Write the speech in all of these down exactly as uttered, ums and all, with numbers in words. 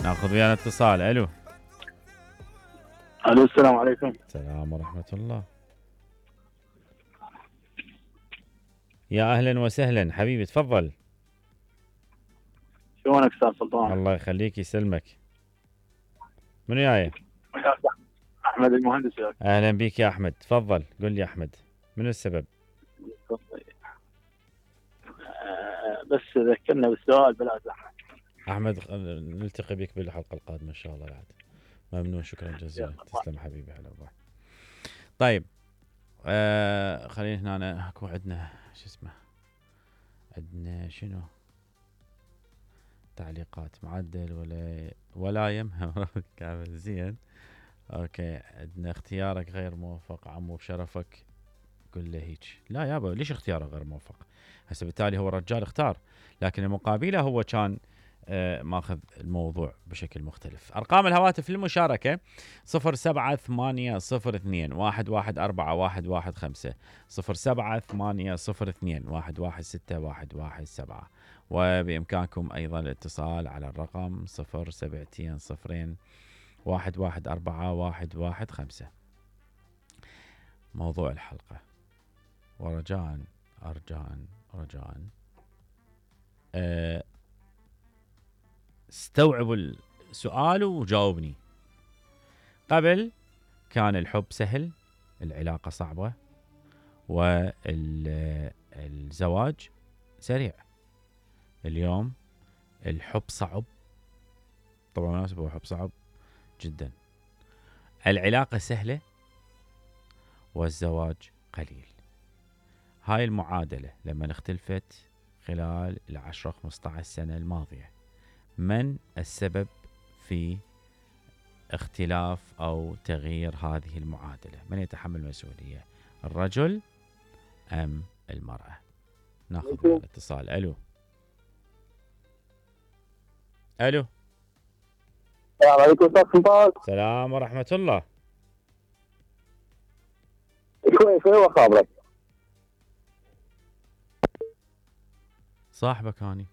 ناخذ ويانا اتصال. الو. الو السلام عليكم. السلام ورحمة الله. يا اهلا وسهلا حبيبي تفضل. شلونك استاذ سلطان؟ الله يخليك يسلمك. منو جاي؟ احمد المهندس ياك. اهلا بك يا احمد تفضل. قل لي احمد منو السبب؟ بس ذكرنا بالسؤال بلا زحمه. احمد نلتقي بك بالحلقه القادمه ان شاء الله بعد. ممنون شكرا جزيلا. تسلم حبيبي. هلا والله. طيب آه خلينا هنا اكو عندنا شو اسمه عندنا شنو تعليقات معدل ولا ولا يمهم كامل زين. اوكي عندنا اختيارك غير موفق عمو بشرفك. قل له هيك. لا يابا ليش اختياره غير موفق؟ هسه بالتالي هو الرجال اختار لكن المقابله هو كان آه ماخذ الموضوع بشكل مختلف. ارقام الهواتف للمشاركه صفر سبعة ثمانية صفر اثنين واحد واحد أربعة واحد واحد خمسة صفر سبعة ثمانية صفر اثنين واحد واحد ستة واحد واحد سبعة وبامكانكم ايضا الاتصال على الرقم صفر سبعتين صفرين واحد واحد أربعة واحد واحد خمسة. موضوع الحلقة ورجاء أرجاء رجاء أه استوعبوا السؤال وجاوبني. قبل كان الحب سهل العلاقة صعبة والزواج سريع. اليوم الحب صعب طبعا مناسب هو حب صعب جدا. العلاقة سهلة والزواج قليل. هاي المعادلة لما اختلفت خلال العشرة خمسة عشر سنة الماضية من السبب في اختلاف أو تغيير هذه المعادلة؟ من يتحمل المسؤولية الرجل أم المرأة؟ ناخذ الاتصال. ألو. ألو. السلام عليكم استاذ سلطان. السلام ورحمة الله. شوي شوي وخابرك. صاحبك هاني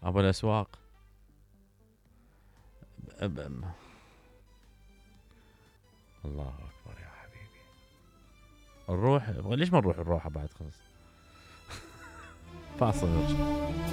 أبو الأسواق. أب... أب... الله أكبر يا حبيبي. نروح ليش ما نروح الروحة بعد خلص. فاصل نرجع.